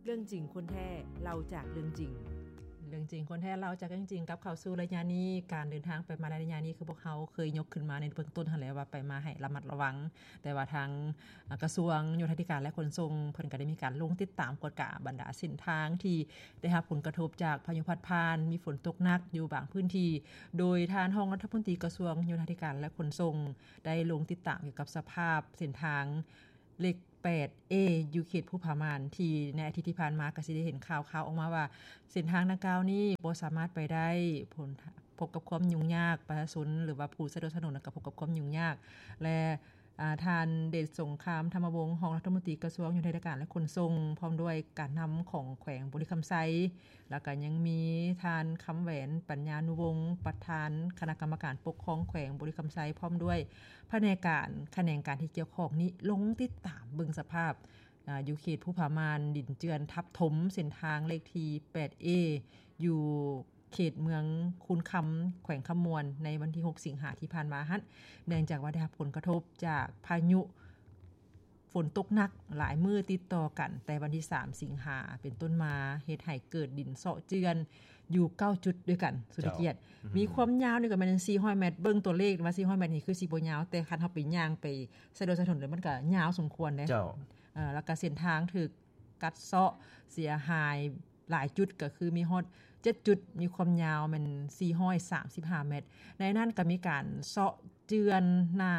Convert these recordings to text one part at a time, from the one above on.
ເລື່ອງຈິງຄົນແທ້ ເລົ່າຈາກເລື່ອງຈິງ. ເລື່ອງຈິງຄົນແທ້ ເລົ່າຈາກເລື່ອງຈິງ ກັບເຂົ້າສູ່ໄລຍະນີ້. ການເດີນທາງໄປມາໃນໄລຍະນີ້ ຄືພວກເຮົາເຄີຍຍົກຂຶ້ນມາໃນເບື້ອງຕົ້ນຫັ້ນແຫຼະ ວ່າໄປມາໃຫ້ລະມັດລະວັງ, ແຕ່ວ່າທາງ ອາ ກະຊວງໂຍທາທິການ ແລະ ຂົນສົ່ງ ເພິ່ນກໍໄດ້ມີການລົງຕິດຕາມກວດກາບັນດາເສັ້ນທາງທີ່ໄດ້ຮັບຜົນກະທົບຈາກພາຍຸພັດຜ່ານ, ມີຝົນຕົກໜັກຢູ່ບາງພື້ນທີ່, ໂດຍທ່ານຮອງລັດຖະມົນຕີກະຊວງໂຍທາທິການ ແລະ ຂົນສົ່ງ ໄດ້ລົງຕິດຕາມກ່ຽວກັບສະພາບເສັ້ນທາງເລກ ແປດເອ ຢູ່ເຂດພູຜາມ່ານ ທີ່ໃນອາທິດທີ່ຜ່ານມາກໍຊິໄດ້ເຫັນຂ່າວຄາວອອກມາວ່າ ເສັ້ນທາງດັ່ງກ່າວນີ້ບໍ່ສາມາດໄປໄດ້, ພົນ ພົບກັບຄວາມຫຍຸ້ງຍາກ, ປະຊາຊົນ ຫຼືວ່າຜູ້ໃຊ້ລົດໃຊ້ຖະໜົນກໍພົບກັບຄວາມຫຍຸ້ງຍາກ ແລະ ອາ ທ່ານ ເດດສົງຄາມ ທຳມະວົງ ຮອງລັດຖະມົນຕີກະຊວງໂຍທາທິການ ແລະ ຂົນສົ່ງ ພ້ອມດ້ວຍການນຳຂອງແຂວງບໍລິຄຳໄຊ ແລ້ວກໍຍັງມີທ່ານ ຄຳແຫວນ ປັນຍານຸວົງ ປະທານຄະນະກຳມະການປົກຄອງແຂວງບໍລິຄຳໄຊ ພ້ອມດ້ວຍພະແນກການ ຂະແໜງການທີ່ກ່ຽວຂ້ອງນີ້ ລົງຕິດຕາມເບິ່ງສະພາບ ອາ ຢູ່ເຂດພູຜາມ່ານ ດິນເຈື່ອນທັບຖົມເສັ້ນທາງເລກທີ ແປດເອ ຢູ່ເຂດເມືອງຄູນຄຳ ແຂວງຄຳມ່ວນ ໃນວັນທີຫົກ ສິງຫາທີ່ຜ່ານມາຫັ້ນ ເນື່ອງຈາກວ່າໄດ້ຮັບຜົນກະທົບຈາກພາຍຸ ຝົນຕົກໜັກຫຼາຍມື້ຕິດຕໍ່ກັນ ແຕ່ວັນທີສາມ ສິງຫາເປັນຕົ້ນມາ ເຮັດໃຫ້ເກີດດິນເຊາະເຈື່ອນຢູ່ເກົ້າຈຸດດ້ວຍກັນ ສຸດເຂດ. ເຈົ້າ ອືມ ມີຄວາມຍາວນີ້ກໍແມ່ນສີ່ຮ້ອຍແມັດ, ເບິ່ງຕົວເລກວ່າສີ່ຮ້ອຍແມັດນີ້ຄືຊິບໍ່ຍາວ ແຕ່ຄັນເຮົາໄປຍ່າງໄປໃຊ້ລົດໃຊ້ຖະໜົນແລ້ວ ມັນກໍຍາວສົມຄວນເດ້. ເຈົ້າ ເອີ ແລ້ວກໍເສັ້ນທາງຖືກກັດເຊາະເສຍຫາຍ ຫຼາຍຈຸດກໍຄືມີຮອດເຈັດຈຸດ ມີຄວາມຍາວແມ່ນສີ່ຮ້ອຍສາມສິບຫ້າແມັດ. ໃນນັ້ນກໍມີການເຊາະເຈື່ອນໜ້າ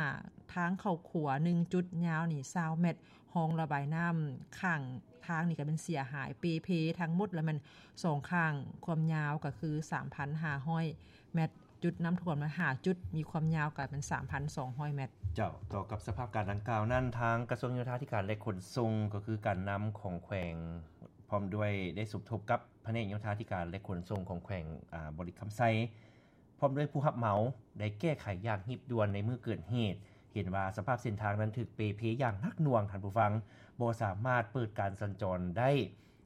ທາງເຂົ້າຂົວໜຶ່ງຈຸດ ຍາວນີ້ຊາວແມັດ, ຮອງລະບາຍນ້ຳຂ້າງທາງນີ້ກໍແມ່ນເສຍຫາຍເປ່ເພທັງໝົດ ແລ້ວແມ່ນສອງຂ້າງ ຄວາມຍາວກໍຄືສາມພັນຫ້າຮ້ອຍແມັດ, ຈຸດນ້ຳຖ້ວມນະຫ້າຈຸດ ມີຄວາມຍາວກໍແມ່ນສາມພັນສອງຮ້ອຍແມັດ. ເຈົ້າ, ຕໍ່ກັບສະພາບການດັ່ງກ່າວນັ້ນ ທາງກະຊວງໂຍທາທິການ ແລະ ຂົນສົ່ງ ກໍຄືການນຳຂອງແຂວງ ພ້ອມດ້ວຍໄດ້ສົມທົບກັບພະແນກໂຍທາທິການ ແລະ ຂົນສົ່ງຂອງແຂວງ ອາ ບໍລິຄຳໄຊ ພ້ອມດ້ວຍຜູ້ຮັບເໝົາ ໄດ້ແກ້ໄຂຢ່າງຮີບດ່ວນໃນມື້ເກີດເຫດ. ເຫັນວ່າສະພາບເສັ້ນທາງນັ້ນຖືກເປ່ເພຢ່າງໜັກໜ່ວງ, ທ່ານຜູ້ຟັງ, ບໍ່ສາມາດເປີດການສັນຈອນໄດ້.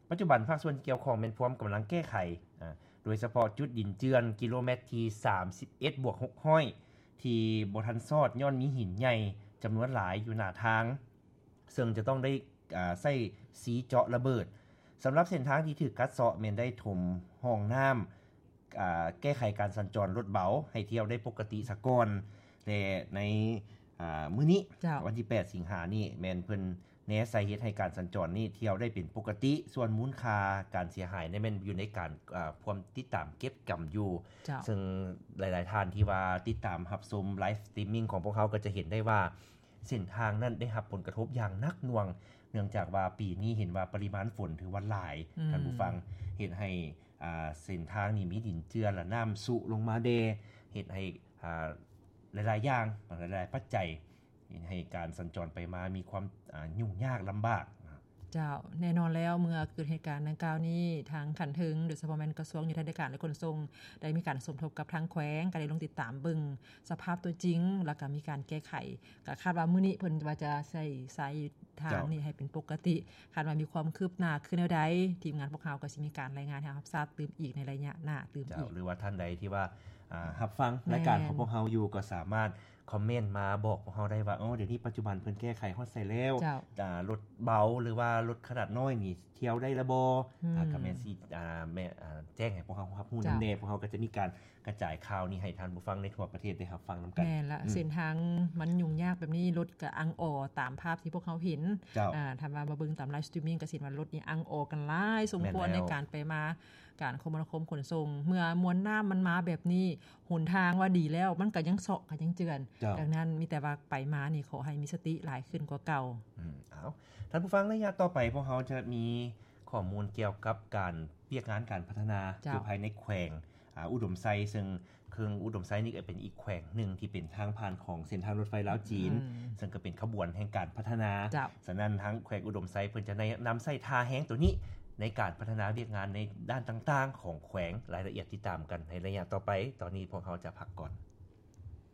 ປັດຈຸບັນພາກສ່ວນທີ່ກ່ຽວຂ້ອງແມ່ນພວມກຳລັງແກ້ໄຂ, ອາ, ໂດຍສະເພາະຈຸດດິນເຈື່ອນກິໂລແມັດທີສາມສິບເອັດບວກຫົກຮ້ອຍ ທີ່ບໍ່ທັນຊອດຍ້ອນມີຫີນໃຫຍ່ຈຳນວນຫຼາຍຢູ່ໜ້າທາງ. ເຊິ່ງຈະຕ້ອງໄດ້ ອາ ໃຊ້ສີເຈາະລະເບີດ. ສຳລັບເສັ້ນທາງທີ່ຖືກກັດເຊາະແມ່ນໄດ້ຖົມຮ່ອງນ້ຳ, ອາ ແກ້ໄຂການສັນຈອນລົດເບົາໃຫ້ທ່ຽວໄດ້ປົກກະຕິສາກ່ອນ ແລະ ໃນ ອາ ມື້ນີ້ ເຈົ້າ ວັນທີແປດ ສິງຫານີ້ ແມ່ນເພິ່ນແນໃສ່ເຮັດໃຫ້ການສັນຈອນນີ້ທ່ຽວໄດ້ເປັນປົກກະຕິ, ສ່ວນມູນຄ່າການເສຍຫາຍນັ້ນແມ່ນຢູ່ໃນການ ອາ ພວມຕິດຕາມເກັບກຳຢູ່. ເຈົ້າ ເຊິ່ງຫຼາຍໆທ່ານທີ່ວ່າຕິດຕາມຮັບຊົມໄລຟ໌ສະຕຣີມມິງຂອງພວກເຮົາກໍຈະເຫັນໄດ້ວ່າ ເສັ້ນທາງນັ້ນໄດ້ຮັບຜົນກະທົບຢ່າງໜັກໜ່ວງ ເນື່ອງຈາກວ່າປີນີ້ເຫັນວ່າປະລິມານຝົນຖືວ່າຫຼາຍ ອືມ ທ່ານຜູ້ຟັງ, ເຮັດໃຫ້ ອາ ເສັ້ນທາງນີ້ມີດິນເຈື່ອນ ແລະ ນ້ຳຊຸລົງມາແດ່ ເຮັດໃຫ້ ອາ ຫຼາຍໆຢ່າງ ຫຼາຍໆປັດໄຈ ເຮັດໃຫ້ການສັນຈອນໄປມາມີຄວາມ ອາ ຫຍຸ້ງຍາກລຳບາກ. ເຈົ້າ, ແນ່ນອນແລ້ວ ເມື່ອເກີດເຫດການດັ່ງກ່າວນີ້ ທາງຂັ້ນເທິງ ໂດຍສະເພາະແມ່ນກະຊວງໂຍທາທິການ ແລະ ຂົນສົ່ງ ໄດ້ມີການສົມທົບກັບທາງແຂວງ, ກໍໄດ້ລົງຕິດຕາມເບິ່ງສະພາບຕົວຈິງ ແລ້ວກໍມີການແກ້ໄຂ. ກໍຄາດວ່າມື້ນີ້ເພິ່ນວ່າຈະໃຊ້ສາຍທາງ ເຈົ້າ ນີ້ໃຫ້ເປັນປົກກະຕິ. ຄາດວ່າມີຄວາມຄືບໜ້າຄືແນວໃດ, ທີມງານພວກເຮົາກໍຊິມີການລາຍງານໃຫ້ຮັບຊາບຕື່ມອີກໃນໄລຍະໜ້າຕື່ມ ເຈົ້າ ອີກ. ຫຼືວ່າທ່ານໃດທີ່ວ່າ ອາ ຮັບຟັງ ແມ່ນ ລາຍການຂອງພວກເຮົາຢູ່ ກໍສາມາດຄອມເມັນມາບອກພວກເຮົາໄດ້ວ່າ ໂອ້ ດຽວນີ້ປັດຈຸບັນເພິ່ນແກ້ໄຂຮອດໃສແລ້ວ ເຈົ້າ ອາ ລົດເບົາ ຫຼືວ່າລົດຂະໜາດນ້ອຍນີ້ທ່ຽວໄດ້ລະບໍ່? ອືມ ອາ ກໍແມ່ນຊິ ອາ ແມ່ນ ອາ ແຈ້ງໃຫ້ພວກເຮົາຮັບຮູ້ນຳແດ່ ເຈົ້າ ພວກເຮົາກໍຈະມີການກະຈາຍຂ່າວນີ້ໃຫ້ທ່ານຜູ້ຟັງໃນທົ່ວປະເທດໄດ້ຮັບຟັງນຳກັນ. ແມ່ນລະ ອືມ ເສັ້ນທາງມັນຫຍຸ້ງຍາກແບບນີ້ ລົດກໍອັ່ງອໍຕາມພາບທີ່ພວກເຮົາເຫັນ. ເຈົ້າ ອາ ຖ້າວ່າມາເບິ່ງຕາມໄລຟ໌ສະຕຣີມມິງ ກໍຊິເຫັນວ່າລົດນີ້ອັ່ງອໍກັນຫຼາຍສົມຄວນ ແມ່ນແລ້ວ ໃນການໄປມາ ການຄົມມະນາຄົມຂົນສົ່ງ ເມື່ອມວນນ້ຳມັນມາແບບນີ້ ຫົນທາງວ່າດີແລ້ວ ມັນກໍຍັງເຊາະ ກໍຍັງເຈື່ອນ. ເຈົ້າ ດັ່ງນັ້ນ ມີແຕ່ວ່າໄປມານີ້ ຂໍໃຫ້ມີສະຕິຫຼາຍຂຶ້ນກວ່າເກົ່າ. ອືມ ເອົາ ທ່ານຜູ້ຟັງ, ໄລຍະຕໍ່ໄປ ພວກເຮົາຈະມີຂໍ້ມູນກ່ຽວກັບການ ວຽກງານການພັດທະນາ ເຈົ້າ ຢູ່ພາຍໃນແຂວງ ອາ ອຸດົມໄຊ, ເຊິ່ງເຂື່ອນອຸດົມໄຊນີ້ກໍເປັນອີກແຂວງໜຶ່ງທີ່ເປັນທາງຜ່ານຂອງເສັ້ນທາງລົດໄຟລາວຈີນ, ອືມ ເຊິ່ງກໍເປັນຂະບວນແຫ່ງການພັດທະນາ. ເຈົ້າ ສະນັ້ນ ທາງແຂວງອຸດົມໄຊເພິ່ນຈະໄດ້ນຳໃຊ້ທ່າແຮງໂຕນີ້ໃນການພັດທະນາວຽກງານໃນດ້ານຕ່າງໆຂອງແຂວງ. ລາຍລະອຽດຕິດຕາມກັນໃນໄລຍະຕໍ່ໄປ. ຕອນນີ້ພວກເຮົາຈະພັກກ່ອນ.